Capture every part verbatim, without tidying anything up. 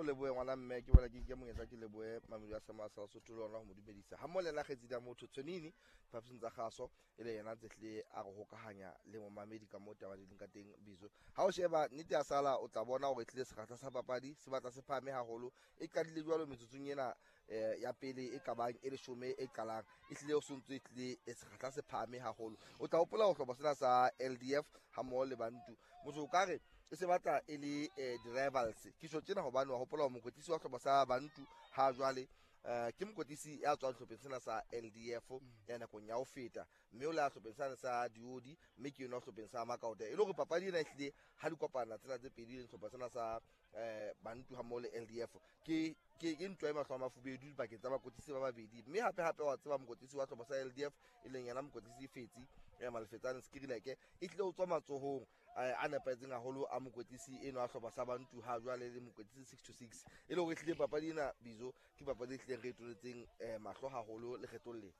lebohe ngwana mme ke bona ke ke monyetla ke lebohe mamedi wa Sama sa Sotho le ona ho mo dumedisa. Ha mmoho le yena kgaitsedi ya motho Tshwenini diphapusing tsa kgaso e le yena ntse hlile a re hokahanya le momamedi ka moo taba di leng ka teng Bizo. Ha o sheba nnete ya sala o tla bona hore tlile sekgahla sa papadi se batla se phahame haholo. E qadile jwalo metsotsong ena eh, ya pele e ka bang e leshome e qalang e hlile o sontso e tlile e sekgahla se phahame haholo. O tla hopola ho hlopha sena sa L D F ha mmoho le Bantu. Motho o ka re e se batla e le eh, di-rivals. Ke tjho tjena hobane wa hopola hore mokwetlisi wa hlopha sa Bantu ha jwale eh, ke mokwetlisi ya tswang hlopheng sena sa L D F ya nakong ya ho feta, mme o le ya hlopheng sena sa Diodi, mme ke yona hlopheng sa Makaota. E le hore papadi ena ehlile ha di kopana tsena tse pedi le hlopha sena sa eh, Bantu ha mmoho le L D F ke ke ke ntwa e mahlo a mafubedu dipakeng tsa bakwetlisi ba babedi. Mme hape hape wa tseba mokwetlisi wa hlopha sa L D F e leng yena mokwetlisi Fetsi ya Malefetsane Skrileke e tlile ho tswa matsohong a nepahetseng haholo a mokwetlisi eno a hlopha sa Bantu ha jwale le mokwetlisi six to six. E le hore ehlile papadi ena Bizo ke papadi e hlileng re e toletseng eh, mahlo haholo lekgetlong lena.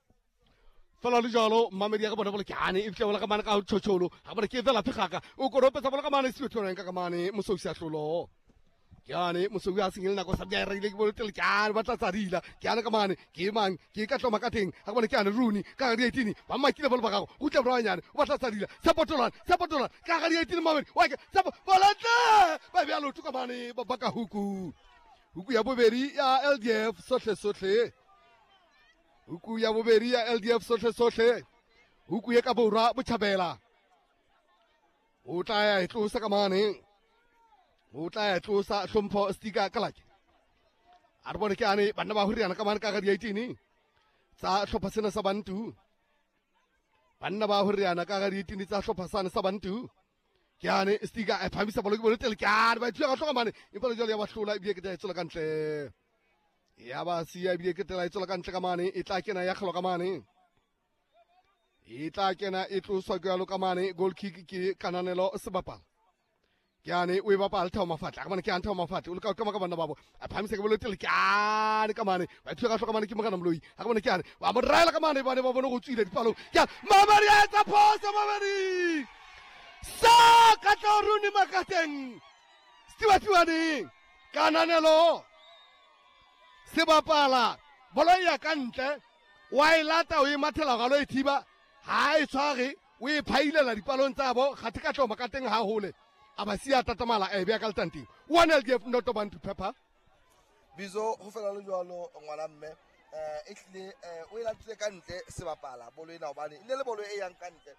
Fela le jalo mamedi ya ka bona bole ke ane e fitlha bola ka mane ka tshotsholo ga bone ke fela phegaka o koropetsa bola ka mane se tshwana ka mane mososi a hlolo. Ke ane mososi a sengele nako sa bja reile ke bole tele ke ane ba tla tsadila ke ane ka mane ke mang ke ka tloma ka teng ga bone ke ane Rooney ka ga di-eighteen ba makile bolo ba gago go tla borwanyane o batla tsadila sa potolana sa potolana ka ga di-eighteen mamedi wa ke sa bolantle ba bja lotho ka mane ba baka huku huku ya bobedi ya L D F sohle sohle huku ya bobedi ya L D F sohle sohle huku ye ka borwa botjhabela o tla ya e tlosa ka mane o tla ya tlosa hlompho stika kalake a re bone ke ane banna ba horiana ka mane ka ga di-eighteen tsa hlopha sena sa Bantu banna ba horiana ka ga di-eighteen tsa hlopha sane sa Bantu ke ane stika e phamisa bolo ke bolo tele ke ane ba ithuya ka hloka mane empa le jwale ya ba hlola ebile ke tla e tswela ka ntle ya ba siya ebile ke tla e tswela ka ntle ka mane e tla kena ya kgelo ka mane e tla kena e tloswa ke jalo ka mane goal kick ke Kananelo Sebapala ke ane o e bapala Thabo Mafatle ka mane ke ane Thabo Mafatle o leka ho kama ka banna babo a phahamisa ke bolo tele ke ane ka mane ba ithuya ka hloka mane ke Morena Moloi ha ka bone ke ane wa mo raela ka mane ba ne ba bone go tswile dipalong ke ane Mamedi a etsa phoso Mamedi sa ka tla Rooney Makateng Stewart Kananelo Sebapala bolo ya ka ntle wa e lata o e mathela ga lo e thiba ha e tshware o e phailela dipalong tsa bo kgathe ka tloma ka teng ha hole a ba siya tatamala e bea ka letanteng one L D F noto Bantu pepper Bizo ho fela le jwalo ngwana mme eh e tlile o e latile ka ntle Sebapala bolo ena hobane e ne le bolo e yang ka ntle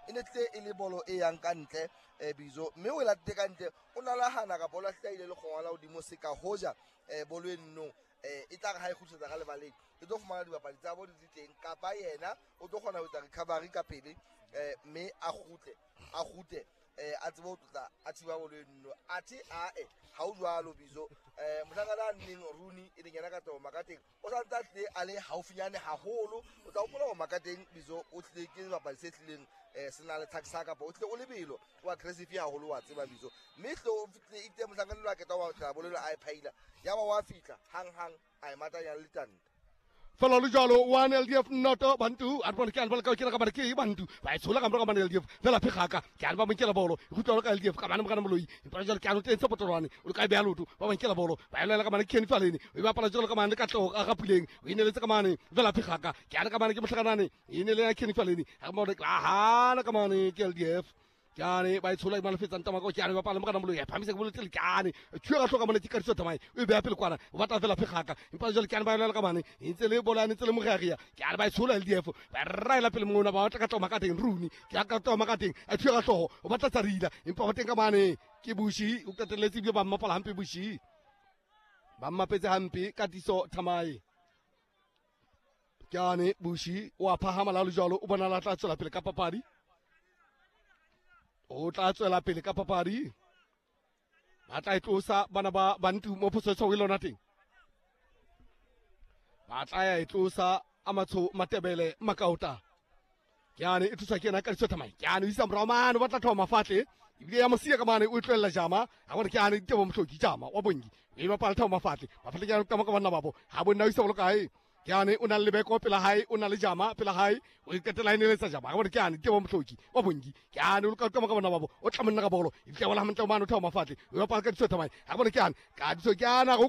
e ne tlile e le bolo e yang ka ntle Bizo mme o e latile ka ntle o nalahana ka bolo a hlahile le kgongwana hodimo se ka hoja bolo e nnong e tla re ha e kgutlisetsa ka lebaleng e tlo fumana dibapadi tsa bo di le teng kapa yena o tlo kgona ho etsa recovery ka pele mme a kgutle a kgutle eh a tsebe ho tlotla a thiba bolo eno athe ae ha o jwalo Bizo eh mohlankana a nneng Rooney e leng yena ka tabo Makateng o sa ntse a tlile a le haufinyane haholo o tla hopola hore Makateng Bizo o tlile ke sebapadi se tlileng eh se na le taxa kapa o tlile o lebelo o aggressive haholo wa tseba Bizo mme hle o fihlile itse mohlankana lo a keta wa tla bolo a e phaila ya ba wa fihla hang hang a e matanya le letanta Fela le jalo one L D F noto Bantu a bone ke ane ba ka ke ka ba ke Bantu ba e tshola ka mora ka mane L D F fela phegaka ke ane ba monkela bolo e gutla ka L D F ka mane mogana moloi empa jalo ke ane teng se potolwane o ka beya loto ba monkela bolo ba elela ka mane Kenny Faleni o bapala jalo ka mane ka tlo ga gapuleng o ineletse ka mane fela phegaka ke ane ka mane ke mohlakanane e ne le ya Kenny Faleni ga mo re aha ka mane ke L D F ke ane ba e tshola e malefetsang tamako ke ane ba pala mogana moloi a phamise ke bolo tele ke ane thuya ka hloka mone ke kadiso tamae o e beya pele kwana o batla fela phegaka empa jalo ke ane ba elela ka mane e ntse le bolane ntse le mogeagia ke ane ba e tshola L D F ba raela pele mongwe ba batla ka tloma ka teng Rooney ke ka tloma ka teng a thuya ka hlogo o batla tsarila empa ba teng ka mane ke Bushi o qetelletse ebile ba mmapala hampe Bushi ba mmapetse hampe Katiso Thamae ke ane Bushi o a phahama la le jalo o bona la tla tswela pele ka papadi o tla tswela pele ka papadi ba tla e tlosa bana ba Bantu mo phoso e lona teng ba tla ya e tlosa a matsho Matebele Makaota ke ane e thusa ke yena ka ditso thamai ke ane o isa morao mane o batla Thabo Mafatle ebile ya mosiya ka mane o e tlohella Jama ga bone ke ane Tebo Mohloki Jama wa Bongi o e bapala Thabo Mafatle Mafatle ke ane ka ka banna babo ha bonna o isa bolo kae ke ane o na le Lebeko pela hae o na le Jama pela hae o iqetela e neletsa Jama ga bone ke ane Tebo Mohloki wa Bongi ke ane o ka ka ka banna babo o tla monna ka bolo ebile ya bola hantle mane o Thabo Mafatle o bapala ka ditso thamai ga bone ke ane ka ditso ke ana go